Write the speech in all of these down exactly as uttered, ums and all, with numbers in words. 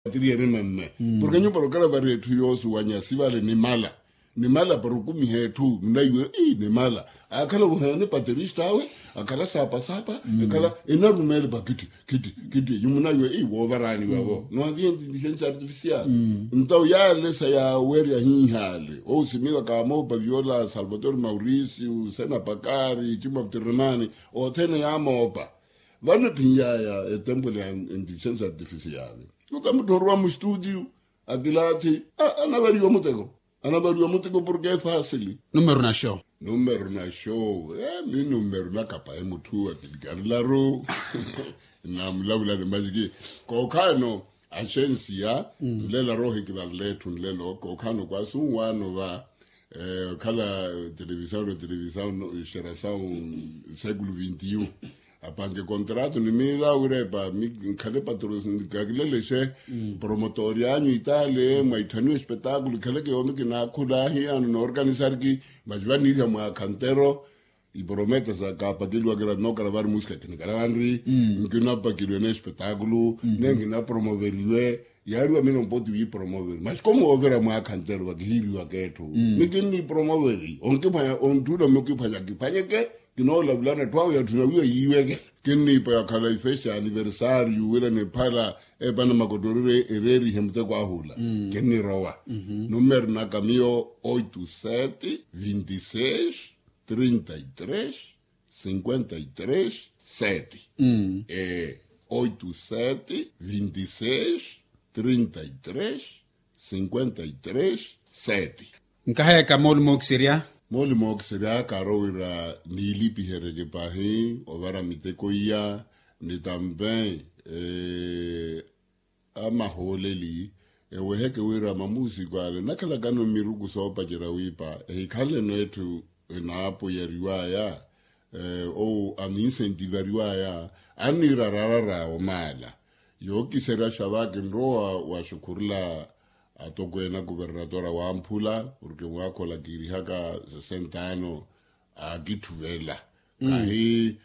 Patiri erima mme. Porke nyupa rokhala vari etthu yoosuwanya sivale nimala. Nimala para okumiha etthu munaiwe ii nimala. Akhala vuheyani patirista awe, akhala saapasapa, akhala enarumeele pa kitti kitti kitti yumunaiwe ii woovaraniwavo nwaviye inteligensia artificial. Nto yale sa yaawerya hiihale ousimiwa kaamoopa viola salvatore mauricio sena pakari cima ptiremani. Othene yaamoopa. Vano ephinyaya etempule ya inteligensia artificial otamutthorwa mustudio. Akilaathi anavariwa muteko. Anavariwa muteko porke efasili. Numero na show. Numero na show. Mi numero nakapahe mutthu akilikarilaru. Namulavulani majiki. Kookhaano axensia nlela roho ekivarela etthu nlelo kookhaano kwaasu nwaano va. Okhala televisaw na televisaw xerasaw século vinti un. Apanke contrato ni miiva wira epa mi nkhale patrosi kakilelexe promotori anyu itale mwaitthaniwa espetakulo ikhaleke yoomi kinaakhula ahiyano noorkanisariki. Masi vaniiriha mwaakha ntero iporometa sa kaapakeliwa kira nookala vari musika kinikala vanri. Nkinapakeliwe n'espetakulo ne nkinapromoveriwe. Yaariwa mina mpoti wiipromoveri masi komuwoovera mwaakha ntero vakihiiriwaka etthu mikinnipromoveri onkiphwanya ontthula mukiphwanya kiphwanyeke. Kinoolavulana etthu awe yatthu nawiwa yiiweke. Kinniipa yakhala ifesi ya aniversario wira niphala epana makotorire ereerihe muteko ahula. Kinnirowa numero naka miyo oito sete vinte e seis trinta e três cinquenta e três sete. Oito sete vinte e seis trinta e três cinquenta e três sete. Nkahayaka mooli mookiserya. Mooli mookiserya kaaro wira niilipihereke pahi ovara miteko iya ni tampe amahooleli eweheke wira mamuusiko ale nakhalakano mmiruku soopacerya wiipa ehikhaleno etthu enaapoyariwaya. Owo aninsentivariwaya anniira rarara omaala. Yookiserya xavaki nrowa waxukhurula atokweene akuvernatora wamphula porke mwaakha ola kiirihaka sesenta ano aakitthuvelela. Kahi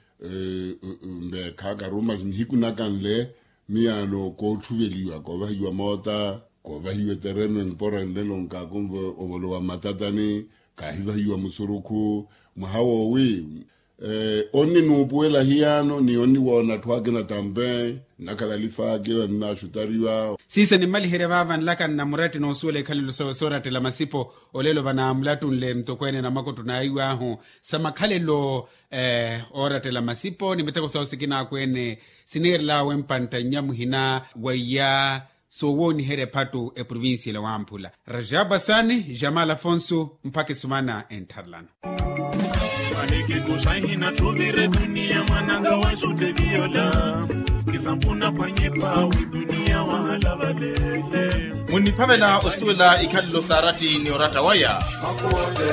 mbeekha karuma nihiku naka nle miyaano koottuveliwa koovahiwa moota koovahiwa etereno empora nlelo nkaakonve ovolowa mmatatani kaahivahiwa musurukhu. Mwaha woowi onninuupuwela hiyano ni onniwoona atthu akina tampe nnakhala alifaaki annaaxutariwa. Siiso nimmaliherya vaava nlaka nnamuratti noosuwela ikhalelo sawe soorattela masipo olelo vanaamulattunle mutokweene na makotto naiwaahu sa makhalelo oorattela masipo ni miteko sawo sikina akweene siniirelaawe mpantta nnya muhina wa iya soowooniherya ephattu eprovincia ila wamphula. Rajab asani jamal afonso mpakha esumana enttharelana. Mwaniki kuxahina tuvire dunia mwananga wa xuteviyola kisampuna pwanyipa widunia wahala vale. Munniphavela osuwela ikhalelo saaratti ni oratta waya.